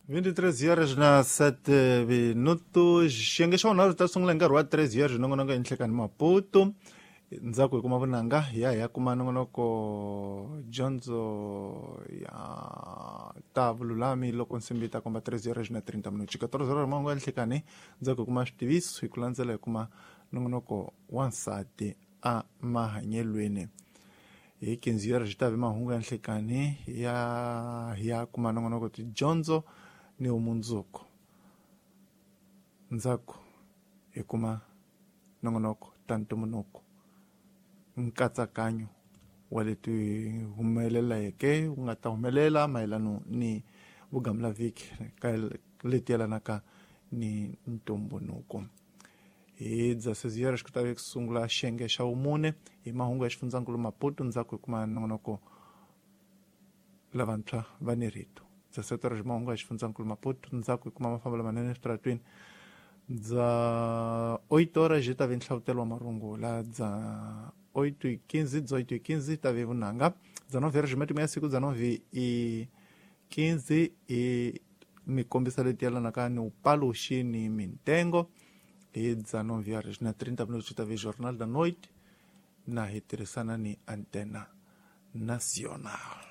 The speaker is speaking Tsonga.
23 horas na 7 minutos. Xiyenge xa vunharhu ta sungula hi nkarhi wa 3 horas nongonoko enhlekani Maputo. Ndzhaku hi kuma vunanga hi ya hi ya kuma nongonoko dyondzo ya ta vululami loko nsimbi yi ta komba 3 horas na 30 minutos. 14 horas mahungu ya nhlekani, ndzhaku hi kuma switiviso, hi ku landzela hi kuma nongonoko wansati a mahanyelweni. Hi 15 horas xi ta ve mahungu ya nhlekani, ya hi ya kuma nongonoko tidyondzo ni vumundzuku. Ndzhaku hi kuma nongonoko ta ntumbuluko, nkatsakanyo wa leti humeleleke wu nga ta humelela mayelano ni vugamulavhiki ka leti yelanaka ni ntumbuluko. Hi 16 horas ku ta ve ku sungula xiyenge xa vumune hi mahungu ya xifundzankulu Maputo. Ndzhaku hi kuma nongonoko lavantshwa va ni rito. 17 horas mahungu ya xifundzankulu Maputo, ndzhaku hi kuma mafambo lamanene eswitaratweni. Dza 8 horas yi ta ve nhlavutelo wa marungula. Dza 8:15, dza 8:15 ta ve vunanga. Dza 9 horas matimu ya siku. Dza 9:15 i mikombisa leti yelanaka ni upaluxi ni mintengo. Hi dza 9 horas na 30 minutos ta ve Jornal da Noite, na hi tirhisana ni Antena Nacional.